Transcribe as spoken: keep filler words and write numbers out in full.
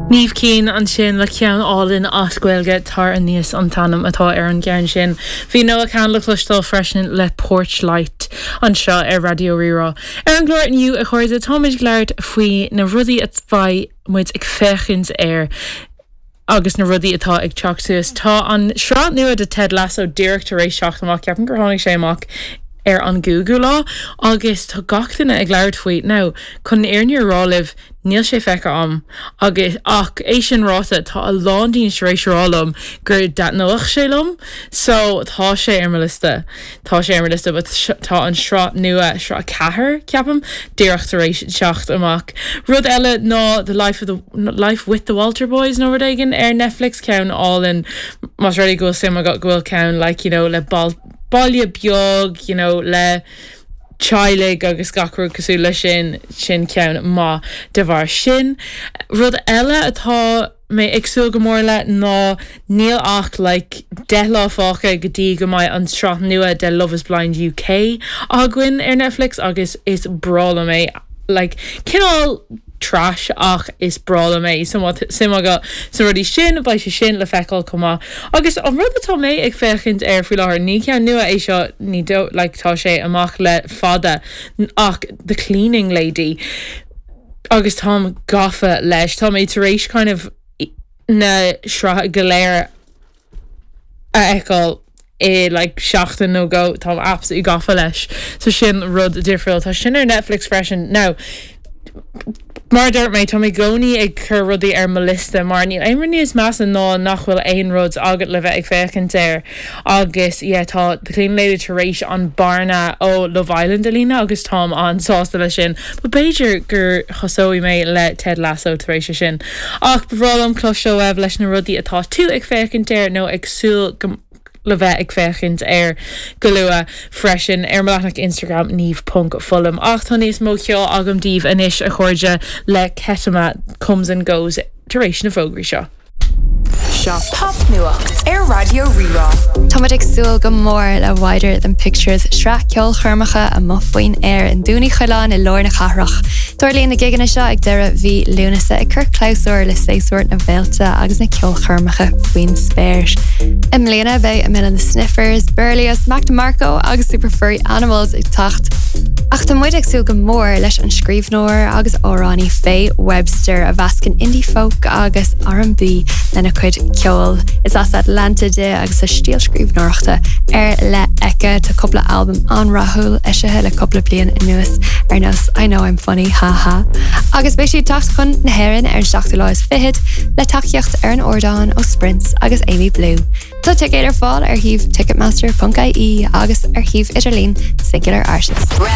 Niamh Keane ansin le ceann álainn as Gaeilge Tar Aníos an t-ainm atá ar an gceann sin. Bhí Noah Kahan le cloisteáil freisin le Porch Light anseo ar Raidió Rí-Rá. Ar an gclár inniu a chairde táimid ag labhairt faoi na rudaí a bheidh muid ag féachaint air agus na rudaí atá ag teacht suas. Tá an sraith nua de Ted Lasso díreach tar éis teacht amach ceapaim gur tháinig sé amach ar an gcúigiú lá agus tá gach duine ag labhairt faoi now chun an fhírinne a rá libh níl sé feicthe agam agus ach é sin ráite tá a lán daoine tar éis rá liom gur thaitneodh sé liom so tá sé ar mo liosta tá sé ar mo liosta but tá an sraith nua sraith ceathair ceapaim díreach tar éis teacht amach rud eile ná the life of the life with the Walter Boys nó rud éigin ar Netflix ceann álainn más rud é go bhfuil suim agat go bhfuil ceann like you know le bal baile beag you know le teaghlaigh agus gach rud cosúil le sin sin ceann maith de bharr sin. Rud eile atá mé ag súil go mór le ná níl ach like deich lá fágtha go dtí go mbeidh an sraith nua de Love is Blind UK againn ar Netflix agus is breá liom é like cineál trash ach is breá liom é so suim agat sna rudaí sin beidh sé sin le feiceáil chomh maith. Agus an rud atá mé ag féachaint air faoi láthair ní ceann nua é seo ní do like tá sé amach le fada ach the cleaning lady agus táim gafa leis tá mé tar éis kind of na sraith go léir a fheiceáil i like seachtain nó dhó tá absolutely gafa leis so sin rud difriúil tá sin ar Netflix freisin now Mar dúirt mé tá mé i gcónaí ag cur rudaí ar mo liosta mar níl aon rud níos measa ná nach bhfuil aon rud agat le bheith ag féachaint air agus yeah, tá The Cleaning Lady tar éis an bearna ó Love Island a líonadh agus táim an-sásta leis sin, Ba b'fhéidir gur thosóidh mé le Ted Lasso tar éis sin. Ach ba bhreá liom cloisteáil uaibh leis na rudaí atá tú ag féachaint air nó ag súil go le bheith ag féachaint air go luath freisin ar mo leathanach Instagram Niamh ponc Fullam ach tá níos mó ceoil agam daoibh anois a chairde le Ketama comes and goes tar éis na bhfógraí seo. Seo popnuacht ar Raidió Rí-Rá. Táimid ag súil go mór le Wider Than Pictures sraith ceolchoirmeacha amuigh faoin aer i nDún Uí Choileáin i lár na cathrach. Tarlaíonn na gigeanna seo ag deireadh mhí Lúnasa ag cur clabhsúr le séasúr na bhféilte agus na ceolchoirmeacha faoin spéir. I mbliana beidh Amyl and the Sniffers, Berlioz, Mac DeMarco agus Super Furry Animals ag teacht. Ach tá muid ag súil go mór leis an scríbhneoir agus amhránaí Faye Webster a mheascann indie folk agus R&B lena cuid ceoil. Is as Atlanta di agus a stíl scríbhneoireachta ar leith aici tá cúpla albam an-rathúil eisithe le cúpla bliain anuas ar nós I know I'm funny haha. Agus beidh sí ag teacht chun na hÉireann ar an seachtú lá is fichead le tacaíocht ar an ardán ó Sprints agus Amy Blue. Tá ticéid ar fáil ar shuíomh ticketmaster.ie agus ar shuíomh idirlín Singular Artist. Ready